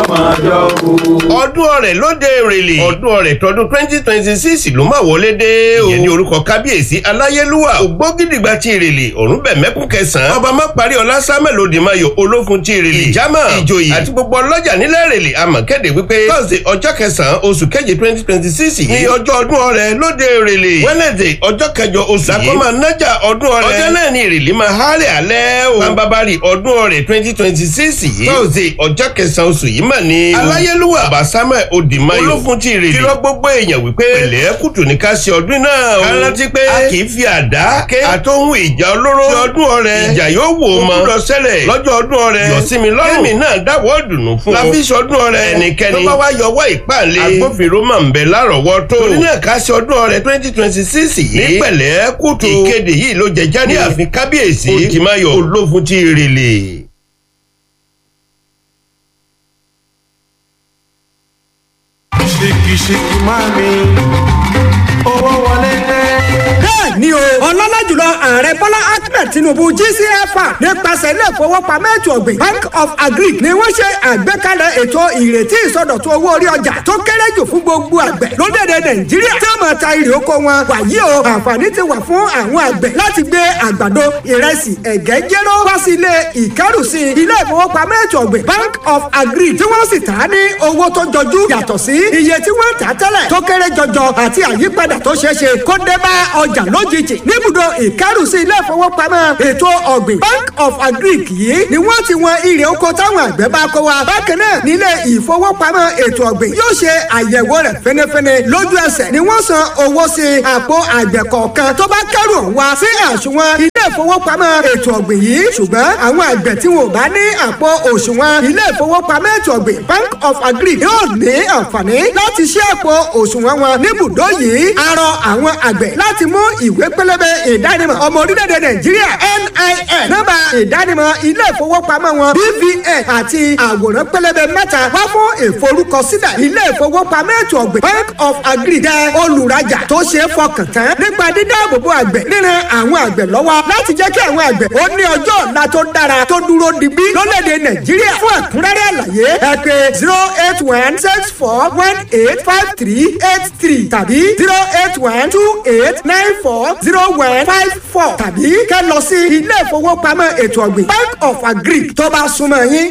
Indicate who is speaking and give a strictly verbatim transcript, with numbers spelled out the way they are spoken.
Speaker 1: Máa jọ kú.
Speaker 2: Ọdún ọrẹ lóde Èrèlè, ọdún ọrẹ tọdún twenty twenty six ló máa wọlé dé o. Ìyẹn ní orúkọ kábíyèsí aláyélúwà ògbógídìgbà ti Èrèlè, Ọ̀rúnbẹ̀mẹ́kún kẹsàn-án, ọba Máparí ọlá Samuel Odìmayọ̀ olófun ti Èrèlè, ìjàmà, ìjòyè àti gbogbo ọlọ́jà nílẹ̀ Èrèlè àmọ̀ kéde wípé Thursday ọjọ́ kẹsàn-án oṣù keje twenty twenty six yìí ní ọjọ́ ọdún ọrẹ lóde Èrèlè. Wednesday ọjọ́ kẹjọ oṣù yìí làkọ́ máa nájà ọdún ọrẹ. Ọjọ́ náà ní Èrèlè máa hálẹ̀ alẹ́ o. Bambabari ọdún ọrẹ twenty twenty six yìí, Thursday ọjọ́ kẹsàn-án oṣù yìí mà ní. Aláyélúwà ọba Samuel Odìmayọ̀ olófun ti Èrèlè kìlọ̀ gbogbo èèyàn wípé pẹ̀lẹ́ kùtù ní ká ṣe ọdún náà o. Ká rántí pé a kì í fi àdá ké àtohun ìjà olóró ṣe ọdún ọrẹ. Ìjà yóò wò ó mọ lọ ṣẹlẹ̀ lọ́jọ́ ọdún ọrẹ. Yọ̀sími lọ́rùn kémi náà dáwọ́ dùnú fún ọ. Láfi ṣọdún ọrẹ ẹnikẹ́ni tó bá wá yọwọ́ ìpàlẹ̀ agbófinró máa ń bẹ lárọ̀ọ́wọ́tó. Torí náà ká ṣe ọdún ọrẹ twenty twenty six yìí ní pẹ̀lẹ́ kùtù. Ìkéde yìí ló jẹ jáde ní ààfin kábíyèsí Odìmayọ̀ olófun ti Èrèlè.
Speaker 1: Ṣìkìṣìkì máa mi owó wọlé dé.
Speaker 3: Bẹ́ẹ̀ ni o, ọlọ́lá jùlọ ààrẹ Bọ́lá Ahmed Tinubu G C F R nípasẹ̀ ilé ìfowópamọ́ ètò ọ̀gbìn Bank of Agric ni wọ́n ṣe àgbékalẹ̀ ètò ìrètí ìsọdọ̀tun owó orí ọjà tó kéré jù fún gbogbo àgbẹ̀ lórílẹ̀‐èdè Nàìjíríà tí wọ́n máa ta irè oko wọn. Wàyí o, àǹfààní ti wà fún àwọn àgbẹ̀ láti gbé àgbàdo, ìrẹsì, ẹ̀gẹ́, jéró wá sí ilé ìkẹ́rùsí ilé ìfowópamọ́ ètò ọ̀gbìn Bank of Agric, tí wọ́n sì tà á ní owó tó jọjú yàtọ̀ sí iye tí wọ́n tà á tẹ́lẹ̀ tó kéré jọjọ, àti àyípadà tó ṣeé ṣe kó dé bá ọjà lójijì. Níbùdó ìkẹ́rùsí ilé ìfowópamọ́ ètò ọ̀gbìn Bank of Agric yìí ni wọ́n ti wọn irè oko táwọn àgbẹ̀ bá kó wa. Bákan náà, nílé ìfowópamọ́ ètò ọ̀gbìn yóò ṣe àyẹ̀wò rẹ̀ fẹ́nẹ́fẹ́nẹ́. Lójú ẹsẹ̀ ni wọ́n san owó sí àpò àgbẹ̀ kọ̀ọ̀kan tó bá kẹ́rù wá sí àsùnwọ̀n ilé ìfowópamọ́ ètò ọ̀gbìn yìí. Ṣùgbọ́n àwọn àgbẹ̀ tí wọn ò bá ní àpò òṣùwọ̀n ilé ìfowópamọ́ ètò ọ̀gbìn Bank of Agric yóò ní àǹfààní láti ṣí àpò òṣùwọ̀n wọn níbùdó yìí. A rọ àwọn àgbẹ̀ láti mú ìwé pélébé ìdánimọ̀ ọmọ orílẹ̀-èdè Nàìjíríà N I N, nọ́mbà ìdánimọ̀ ilé ìfowópamọ́ wọn B V N àti àwòrán pélébé mẹ́ta wá fún ìforúkọsílẹ̀. Ilé ìfowópamọ́ ètò ọ̀gbìn Bank of Agric jẹ́ olùrajà tó ṣe é fọkàn tán nípa dídáàbòbò àgbẹ̀, ríran àwọn àgbẹ̀ lọ́wọ́ láti jẹ́ kí àwọn àgbẹ̀ ó ní ọjọ́ ọ̀la tó dára tó dúró digbí lórílẹ̀‐èdè Nàìjíríà. Fún ẹ̀kúnrẹ́rẹ́ àlàyé, ẹ pè zero eight one six four one eight five three eight three tàbí zero eight one two eight nine four zero one five four tàbí kẹ́ lọ sí ilé ìfowópamọ́ ètò ọ̀gbìn Bank of Agric tó bá súnmọ́ yín.